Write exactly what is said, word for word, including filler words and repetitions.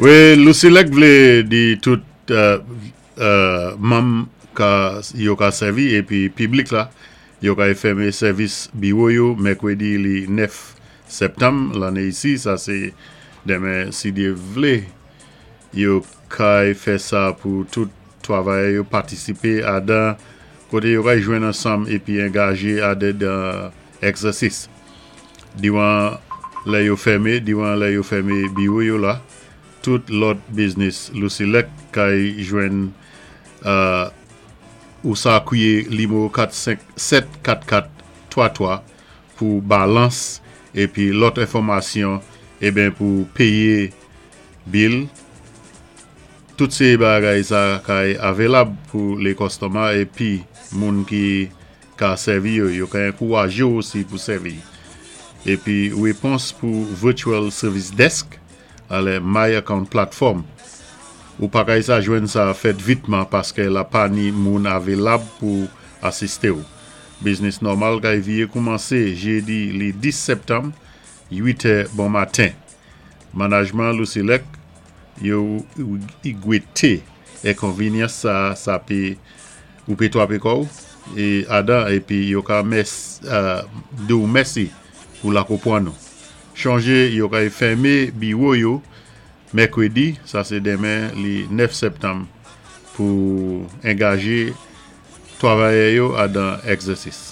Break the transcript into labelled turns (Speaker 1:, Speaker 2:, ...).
Speaker 1: Wi, LUCELEC vlé di tout euh, euh, manm ka yo ka sèvi épi piblik la yo kay fèmen sèvis biwo yo mèkwédi li nèf septanm lanné isi, sa sé denmen si Dye vlé. Yo kay fè sa pou tout twavayè yo patisipé adan koté yo kay jwenn ansanm épi angajé adedan egzèsis. Diwan lè yo fèmen, diwan lè yo fèmen biwo yo la, tout lòt biznis LUCELEC kay jwenn euh, ou sa kwiyé nimewo kat senk sèt kat kat twa twa pou balans épi lòt enfòmasyon eben pou péyé bil. Tout sé bagay sa kay avelab pou lé kòstoma épi moun ki ka sèvi yo, yo ka ankourajé osi pou sèvi. Épi wépons pou Virtual Service Desk alè My Account Platform. Ou pa kay sa jwenn sa fèt vitman paské la pa ni moun avelab pou asisté ou. Biznis nòmal kay viyé koumansé jédi li dis septanm uit è bon maten. Manajman LUCELEC yo gwété enkonvényans sa sa pé ou pé twapé kò'w é adan épi yo ka mès euh, di ou mèsi pou la konpwann nou. Chonjé yo kay fèmen biwo yo mèkwédi, sa sé denmen li nèf septanm pou angajé twavayè yo adan egzèsis.